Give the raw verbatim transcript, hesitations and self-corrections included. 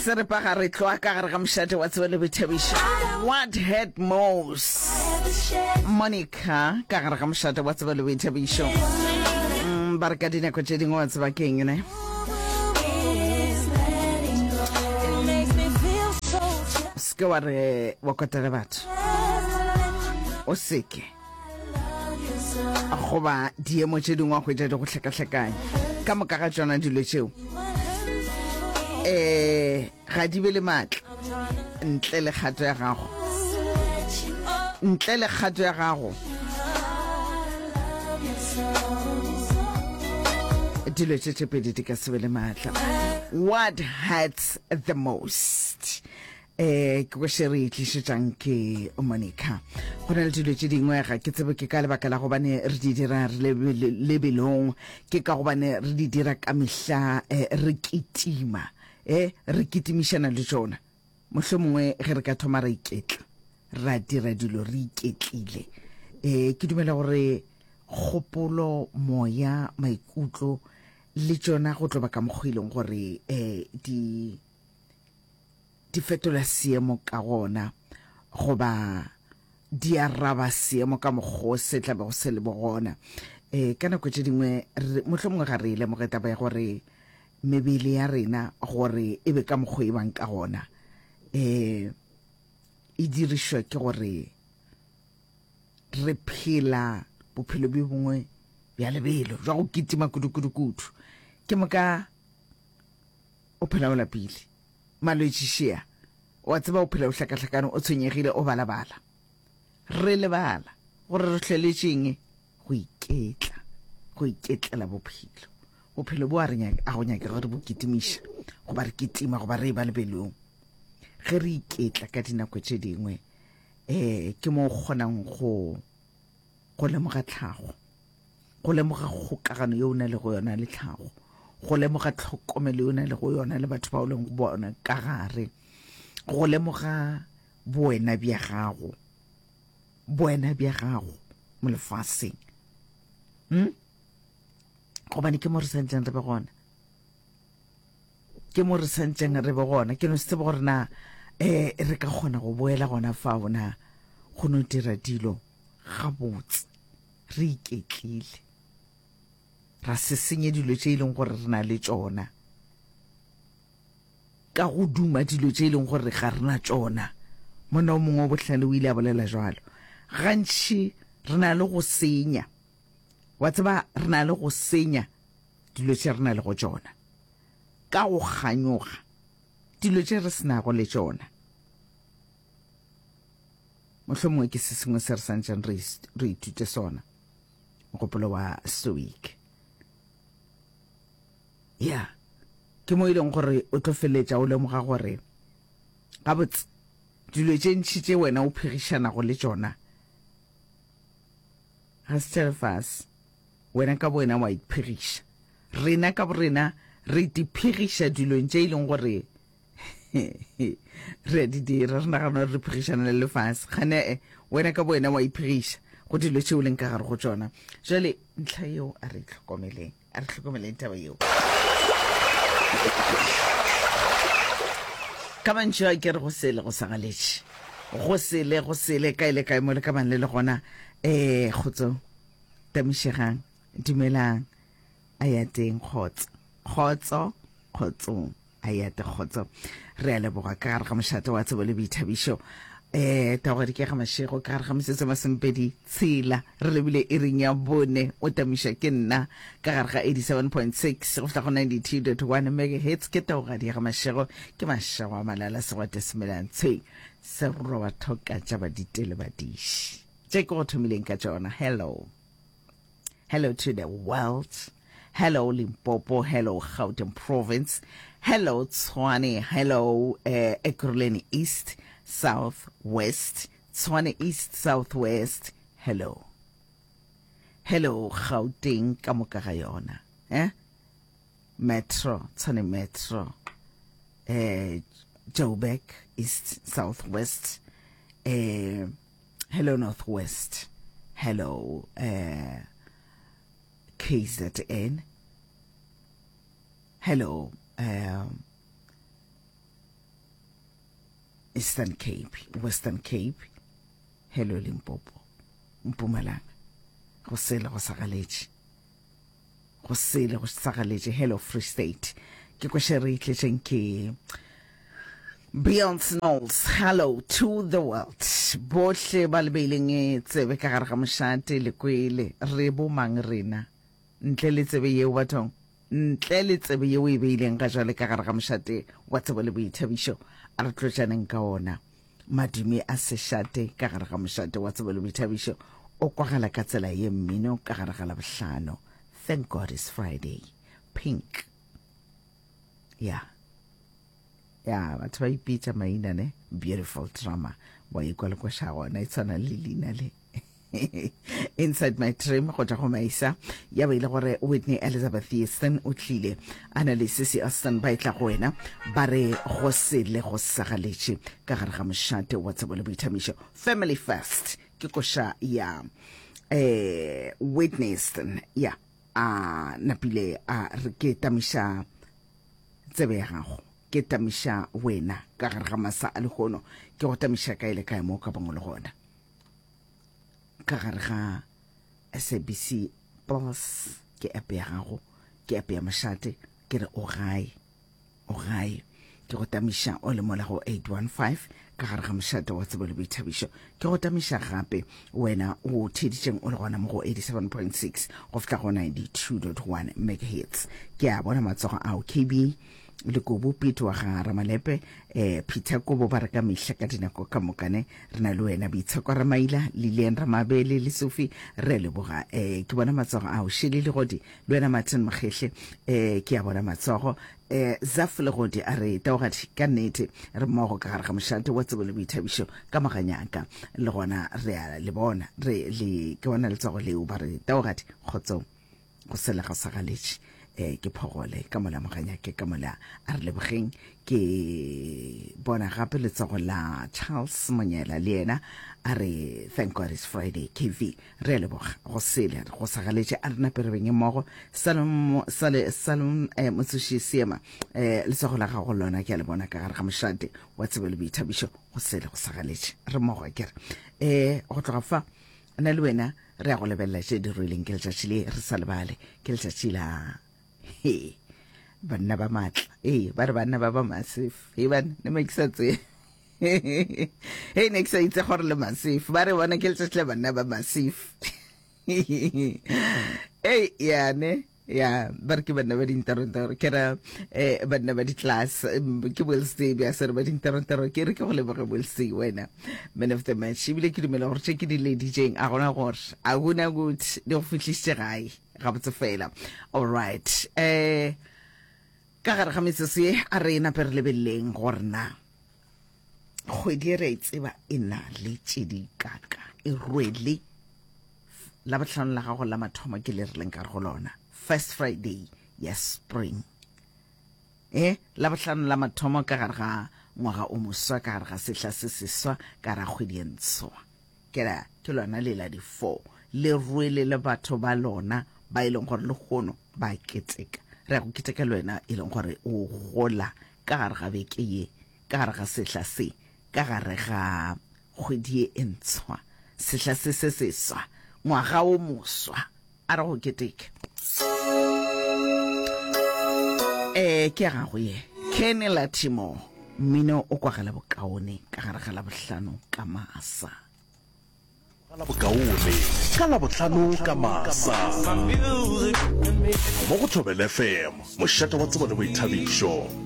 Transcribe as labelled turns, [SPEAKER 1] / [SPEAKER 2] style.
[SPEAKER 1] Seripa gare tloa ka gare ga mošate wa tsebo le boithabišo. What hurt most? Monica ka gare ga mošate wa tsebo le boithabišo. Mm, ba re ka dinako tše dingwe wa tseba keng ne? Se ke wa re wa kotela batho. O seke. Goba diemo tše dingwe wa hwetša di go hlakahlakanya. Ka moka ga tšona dilo tšeo eh ga di be le maatla ntle le kgato ya gago, ntle le kgato ya gago dilo tše tše pedi di ka se be le maatla. What hurts the most? Eh ke kwešše re e tlišetšang ke Monica. Go na le dilo tše dingwe ga ke tsebe ke ka lebaka la gobane re di dira re le lebelong, ke ka gobane re di dira ka mehla eh, re kitima eh re kitimišana le tšona. Mohlomongwe ge re ka thoma ra iketla, ra dira dilo re iketlile. Eh ke dumela gore kgopolo, moya, maikutlo le tšona go tlo ba ka mokgwa e leng gore eh di di fetola seemo ka gona, goba di araba seemo ka mokgwa o se tla bego se le bo gona. E ka nako tše dingwe mohlomongwe ga re e lemoge taba ya gore mebele ya rena gore e be ka mokgwa e bang ka gona, e e dirišwa ke gore re phela bophelo bjo bongwe bja lebelo bja go kitima kudu-kudu-kudu. Ke moka o phela o lapile, malwetši šea, wa tseba o phela o hlakahlakane, o tshwenyegile, o balabala. Re lebala gore re hloletšeng go iketla, go iketlela bophelo. Bophelo bo a re nyaka, a go nyake gore bo kitimiša, goba re kitima, goba re e ba lebelong. Ge re iketla ka dinako tše dingwe, eh ke mo o kgonang go go lemoga tlhago, go lemoga kgokagano yeo o na le go yona le tlhago, go lemoga tlhokomelo yeo o na le go yona le batho ba o leng go bona ka gare, go lemoga bowena bja gago, bowena bja gago mo lefaseng. Hm? Gobane ke mo re santšeng re be gona, ke mo re santšeng re be gona. Ke no se tsebe gore na eh re ka kgona go boela gona fao na go no dira dilo gabotse re iketlile, ra se senye dilo tše e leng gore re na le tšona ka go duma dilo tše e leng gore ga re na tšona. Monna o mongwe o bohlale o ile a bolela jwalo. Gantši re na le go senya, wa tseba, re na le go senya dilo tše re na le go tšona ka go kganyoga dilo tše re se nago le tšona. Mohlomongwe ke se sengwe se re santšeng re re ithute sona, mogopolo wa stoic. Ya, ke mo e leng gore o tlo feletša o lemoga gore gabotse dilo tše ntši tše wena o phegišanago le tšona ga se tša lefase. Wena ka bowena wa iphegiša. Rena ka borena re iphegiša dilong tše e leng gore re a di dira, re nagana gore re phegišana le lefase. Kgane e, wena ka bowena wa iphegiša go dilo tše o leng ka gare go tšona. Jwale ntlha yeo a re itlhokomeleng, a re hlokomeleng taba yeo. Ka mantšu a ke re go sele go sa galetše, go sele go sele kae le kae mo le ka bang le le gona. Eh kgotso, tamišegang, dumelang, a ya teng kgotso, kgotso, kgotsong, a ya te kgotso. Re a leboga ka gare ga mošate wa tsebo le boithabišo. Eh taogadi ke ga Mashego ka gare ga metsotso masomepedi tshela re lebile iring ya bone. O tamiša ke nna ka gare ga eighty-seven point six go fihla go ninety-two dot one megahertz. Ke taogadi ya ga Mashego, ke Mashego a Malala Segwate Semelantshweng seroba thoka tša baditele badiši tše ke go thomileng ka tšona. Hello, hello to the world, hello Limpopo, hello Gauteng province, hello Tshwane, hello eh, Ekurhuleni East, South West, Tshwane East, South West, hello, hello Gauteng ka moka ga yona, eh? Metro, Tshwane Metro, eh, Joburg East, South West, eh, hello North West, hello eh, K Z N, hello um, Eastern Cape, Western Cape, hello Limpopo, Mpumalanga, go sele go sagaletše, go sele go sagaletše, hello Free State. Ke kweše re itletšeng ke Beyonce Knowles, hello to the world. Bohle ba le beileng e tsebe ka gare ga mošate le kwele re bo mang rena ntle le tsebe yeo bathong, ntle le tsebe yeo e beileng ga jwale ka gare ga mošate wa tsebo le boithabišo, a re tlotšaneng ka ona. Madume a sešate ka gare ga mošate wa tsebo le boithabišo o kwagala ka tsela ye mmino ka gare ga Labohlano. Thank God it's Friday. Pink. Ya. Ya, batho ba ipitša maina ne. Beautiful drama. Wa ikwa le kweša gona e tshwana le leina le. Inside My Dream go tšwa go Maisa, ya ba ile gore Whitney Elizabeth Houston o tlile a na le Sissy Austin ba etla go wena ba re go sele go sagaletše ka gare ga mošate wa tsebo le boithamišo. Family First ke koša ya eh Whitney Houston, ya a napile a re ke tamiša tsebe ya gago, ke tamiša wena ka gare ga masa a lehono, ke go tamiša kae le kae mo ka bangwe le gona ka gare ga S A B C Plus, ke app ya gago, ke app ya mošate, ke re o gae, o gae, ke go tamiša o le mola go eight one five ka gare ga mošate wa tsebo le boithabišo. Ke go tamiša gape wena o theeditšeng o le gona mo go eighty-seven point six go fihla go ninety-two point one megahertz. Ke a bona matsogo ao K B le Kobo Pete wa ga Ramalepe, eh Peter Kobo ba re ka mehla ka dinako ka mokane re na le wena, Boitsheko Ramaila, Lilian Ramabele le Sophie re leboga. Eh ke bona matsogo ao Shelley Legodi le wena Martin Mokgehle, eh ke a bona matsogo. Eh Zaf Legodi a re taogadi ka nnete re mmogo ka gare ga mošate wa tsebo le boithabišo ka moganyaka, le gona re a le bona re le ke bona letsogo leo ba re taogadi kgotso go sele ga sagaletše. Eh ke phogole ka mola moganyake ka mola a re lebogeng. Ke bona gape letsogo la Charles Monyela le yena a re thank God it's Friday K V re leboga go sele go sagaletše a rena perebeng mmogo. Salom sale Salom eh, Motsoši Seema eh letsogo la gago lona ke a le bona ka gare ga mošate wa tsebo le boithabišo go sele go sagaletše re mmogo ke re eh go tloga fa nna le wena re ya go lebelela tše di ruileng ke letšatši le re sa lebale ke letšatši la he banna ba matla, ee ba re banna ba ba massive, he bana ne me ke sa tsebe he ne ke sa itse gore le massive, ba re bona ke letšatši la banna ba massive. Ei ya ne ya ba re ke banna ba dintarontaro, ke ra eh banna ba di-class, ke Wednesday bja se re ba dintarontaro, ke re ke go leboge Wednesday wena man of the match, ebile ke dumela gore tše ke di leditšeng a gona gore a gona kuthi di go fihlišitše gae gabotse fela. All right, eh ka gare ga metsotso ye a re nape re lebeleleng gore na kgwedi e re e tseba e na le tše di kaka e rwele la bohlano la gago la mathomo ke le re leng ka re go lona first Friday ya spring, eh la bohlano la mathomo ka gare ga ngwaga o moswa ka gare ga sehla se seswa ka gare ga kgwedi e ntshwa, ke ra ke lona le la di-four le rwele le batho ba lona ba e leng gore le kgono ba keteka, re ya go keteka le wena e leng gore o gola ka gare ga beke ye ka gare ga sehla se ka gare ga kgwedi ye e ntshwa sehla se se seswa ngwaga o moswa a re go keteka. Eh ke ya gago ye Kenny Lattimore mmino o kwagala bokaone ka gare ga Labohlano ka masa.
[SPEAKER 2] La bokaone ka Labohlano ka masa mo go Thobela F M, mošate wa tsebo le boithabišo.